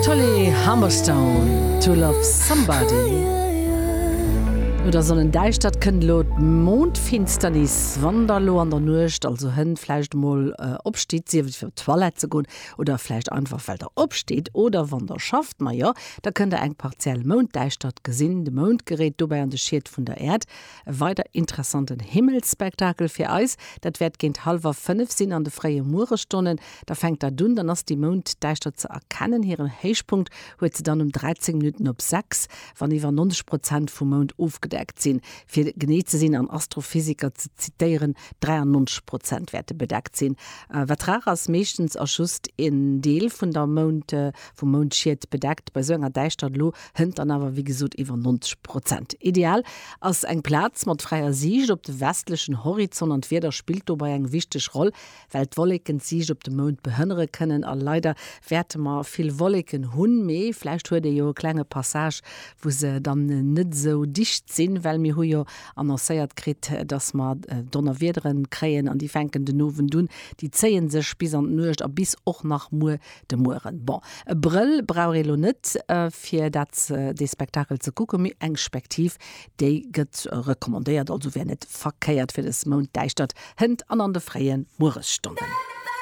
Tully Humberstone, To Love Somebody. No der Sonnendäischtert kënnt elo d'Mondfinsternis. Wann der elo an der Nuecht, also hënt, vläicht emol opstitt, sief et fir op d'Toilette ze goen oder vläicht einfach well der opstitt oder wann der schafft, majo, da kënnt der eng partiell Mounddäischtert gesinn. De Mound geréit dobäi an de Schiet vun der Äerd. E weider interessanten Himmelsspektakel fir eis, dat wäert géint hallwer 5 sinn an de fréie Mueresstonnen. Da fänkt dat un, dann ass déi Mounddäischtert ze erkennen. Hiren Héichpunkt huet se dann um 13 Minutten op 6, wann iwwer 90 Prozent vum Mound ofgedeckt sinn. Fir genee ze sinn an Astrophysiker ze zitéieren, 93 Prozent wäerte bedeckt sinn. Wat rar ass, meeschtens ass just en Deel vun der Mound, vum Moundschiet bedeckt. Bei sou enger Däischtert elo hënt dann awer wéi gesot iwwer 90 Prozent. Ideal ass eng Plaz mat fräier Siicht op de westlechen Horizont an d'Wieder spillt dobei eng wichteg Roll, well d'Wolleken d'Siicht op de Mound behënnere kënnen. A leider wäerte mer vill Wolleken hunn, mee vläicht huet ee jo e klenge Passage, wou se dann net esou dicht sinn, well mir hu jo annoncéiert kritt, dass mer Donnerwiedere kréien an déi fänken den Owend un, déi zéie sech bis an d'Nuecht a bis och nach muer de Mueren. Bon, e Brëll brauch ee lo net fir dat dee Spektakel ze kucken, mee eng Spektiv, déi gëtt recommandéiert, also wär net verkéiert fir des Mounddäischtert hënt an an de fréie Mueresstonnen.